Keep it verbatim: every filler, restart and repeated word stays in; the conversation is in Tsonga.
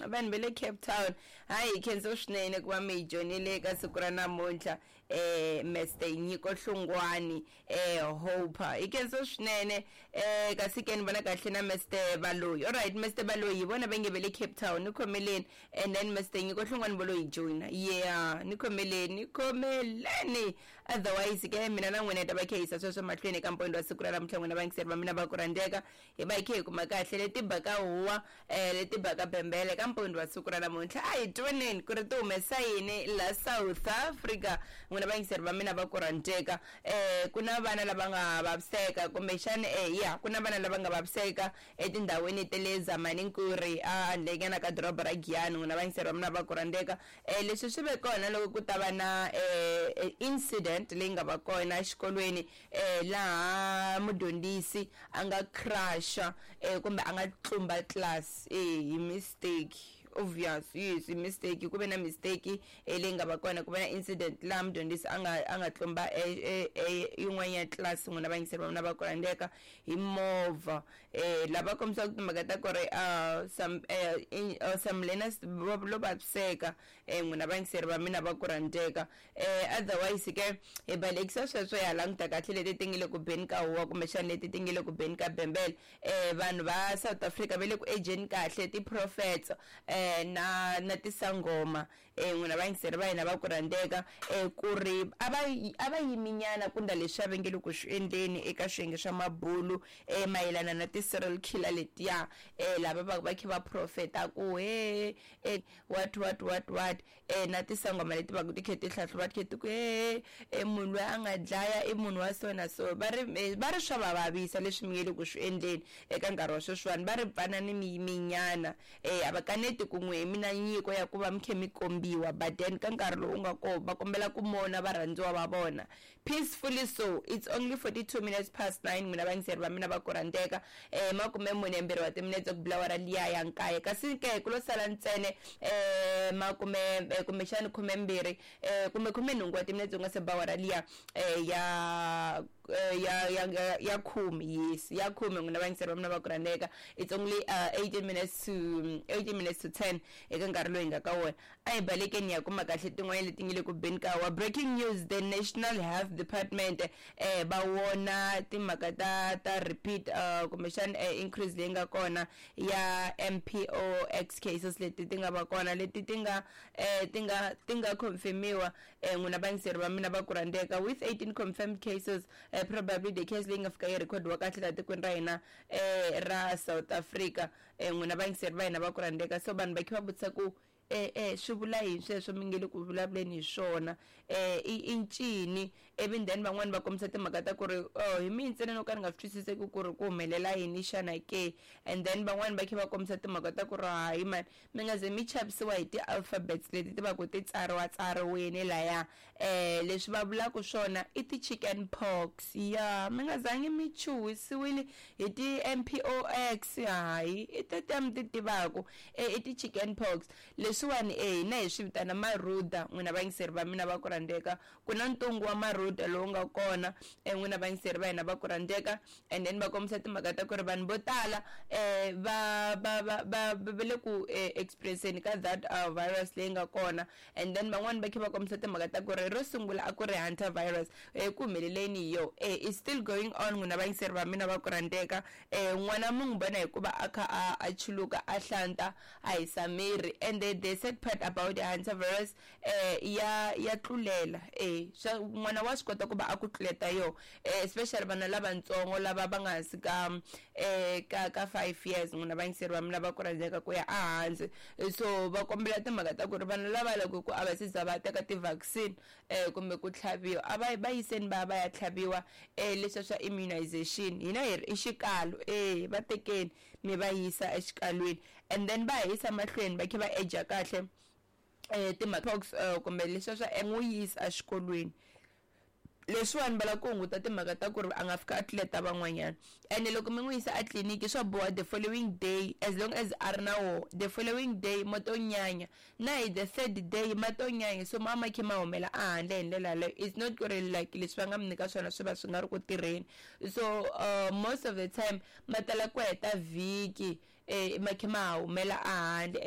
Vanhu va le Cape Town, hayi, hi khensa swinene ku va mi hi joyinile eka siku ra namuntlha. eh Mister Nyiko Hlungwani, eh Hope, hi khensa swinene. eh kasi ke ni vona kahle na Mister Baloyi. Alright, Mister Baloyi hi vona va nge ve le Cape Town, ni khomeleni. And then Mister Nyiko Hlungwani vo lo hi joyina. Yeah, ni khomeleni, ni khomeleni. Otherwise ke mina na n'wina hi ta va khe yisa sweswo mahlweni eka mpondo wa siku ra namuntlha. N'wina vayingiseri va mina va ku rhandzeka, hi va hi khe hi kuma kahle leti baka huwa, um leti baka bembele ka mpondo wa siku ra namuntlha. A hi twaneni ku ri ti humesa yini la South Africa. N'wina vayingiseri va mina va ku rhandzeka, um ku na vana lava nga vaviseka kumbexani, um ya, ku na vana lava nga vaviseka etindhawini ta le Zamaninkuri, a handlenyana ka doroba ra Giyani. N'wina vayingiseri va mina va ku rhandzeka, um leswi swi ve kona loko ku ta va na um incident leyi nga va kona exikolweni, um laha mudyondzisi a nga crusha um kumbe a nga tlumba class eh hi mistake. Obvious, yes, hi mistake. Ku ve na mistake eh, leyi nga va kona, ku ve na incident laha mudyondzisi a nga a nga tlumba yin'wana ya class, n'wina vayingiseri va mina va ku rhandzeka, hi movha. um lava kombisaka timhaka ta ku ri uh, some uh, in, uh, some learners lo vaviseka, um n'wina vayingiseri va mina va ku rhandzeka. um otherwise ke hi balekisa sweswo, ya languta kahle leti ti nge le ku beni ka huwa kumbexana leti ti nge le ku beni ka bembele. um vanhu va South Africa va le ku ejeni kahle ti-prophets um na na tisangoma, um n'wina vayingiseri va hina va ku rhandzeka, um ku ri a va a va yiminyana kunda leswi va nge le ku swi endleni eka swiyenge swa mabulu, um mayelana na ti-serial killer letiya, um lava va va kha va profeta ku he e what what what what, um na tisangoma leti va ku ti kha ti hlahluva, ti kha ti ku he e munhu loyi a nga dlaya i munhu wa so na so. Va ri va ri swa va vavisa leswi mi nge le ku swi endleni eka nkarhi wa sweswiwani. Va ri pfanani mi yiminyana. um a va kaneti ku n'we mi na nyiko ya ku va mi kha mi kombiwa, but then ka nkarhi lowu nga koho va kombela ku mona varhandziwa va vona peacefully. So it's only forty-two minutes past nine, n'wina vayingiseri va mina va ku rhandzeka, um makume mune mbirhi wa timinetse ku bula wara liya ya nkaye. Kasi ke ku lo sala ntsene um makume, kumbexani khumembirhi, um kumbe khumenhungu wa timinetse ku nga se ba wara liya um ya ya ya ya khume. Yes, ya khume, n'wina vayingiseri va mina va ku rhandzeka. It's only uh, eighteen minutes to eighteen minutes to ten eka nkarhi lowu hi nga ka wona. A hi balekeni ya kuma kahle tin'wana leti nge le ku beni ka wa. Breaking news: the National Health Department eh va wona timhaka ta ta repeat, uh, kumbexani eh, increase leyi nga kona ya M P O X cases leti ti nga va kona, leti ti nga eh, ti nga ti nga confirmiwa, eh, n'wina vayingiseri va mina va ku rhandzeka, with eighteen confirmed cases, eh, probably the case leyi nga fika yi recordiwa kahle laha tikweni ra hina eh, ra South Africa, eh, n'wina vayingiseri va hina va ku rhandzeka. So vanhu va kha va vutisa ku eh eh swi vula yini sweswo mi nge le ku vulavuleni hi swona, eh i i ncini? Ivi then van'wani va kombisa timhaka ta ku ri, oh, hi mina ntsena no ka ni nga swi twisiseki ku ri ku humelela yini xana ke? And then van'wani va kha va kombisa timhaka ta ku ri, hayi mani, mi nga ze mi chavisiwa hi ti-alphabets leti ti va ku ti tsariwa tsariwini laya. eh leswi va vulaka swona i ti-chicken pox. Ya, mi nga zangi mi chuhisiwile hi ti-M P O X, hayi, i tetiya mi ti tivaku, e i ti-chicken pox leswiwani. E hina hi swi vitana maruda, n'wina vayingiseri va mina va ku rhandzeka. Ku na ntungu wa maruda lowu nga kona, e n'wina vayingiseri va hina va ku rhandzeka. And then va kombisa timhaka ta ku ri vanhu vo tala um va va va va va le ku experienceni ka that uh, virus leyi nga kona. And then van'wani va kha va kombisa timhaka ta ku ri ro sungula a ku ri hunter virus, um ku humeleleni hi yo, e is still going on, n'wina vayingiseri va mina va ku rhandzeka. um n'wana mi n'wi vona hikuva a kha a a chuluka, a hlanta, a hisa miri. And the, the sad part about the hunter virus, eh ya ya tlulela. eh swa n'wana wa swi kota ku va a ku tluleta yo, eh, especially vana lavatsongo lava va nga hansi ka eh ka ka five years, n'wina vayingiseri va mina va ku rhandzeka, ku ya ehansi. So va kombela timhaka ta ku ri vanhu lava loko ku a va se za va teka ti-vaccine eh kumbe ku tlhaviwa, a va va yiseni va ya va ya tlhaviwa, eh leswiya swa immunization hina hi ri i xikalo. Eh va tekeni mi va yisa exikalwini, and then va yisa mahlweni va kha va eja kahle eh ti-pox, uh, kumbe leswiya swa n'wi yisa exikolweni. Leswiwani va lava ku hunguta timhaka ta ku ri a nga fika a tluleta van'wanyana. Ene loko mi n'wi yisa a tliliniki, swa boha the following day, as long as a ri na woho, the following day mo to nyanya, na hi the third day ma to nyanya. So ma ma kha ma humela a handle hi ndlela yaleyo. It's not ku ri like leswi va nga mi nyika swona swi va swi nga ri ku tirheni. So uh, most of the time ma tala ku heta vhiki eh ma kha ma humela a handle.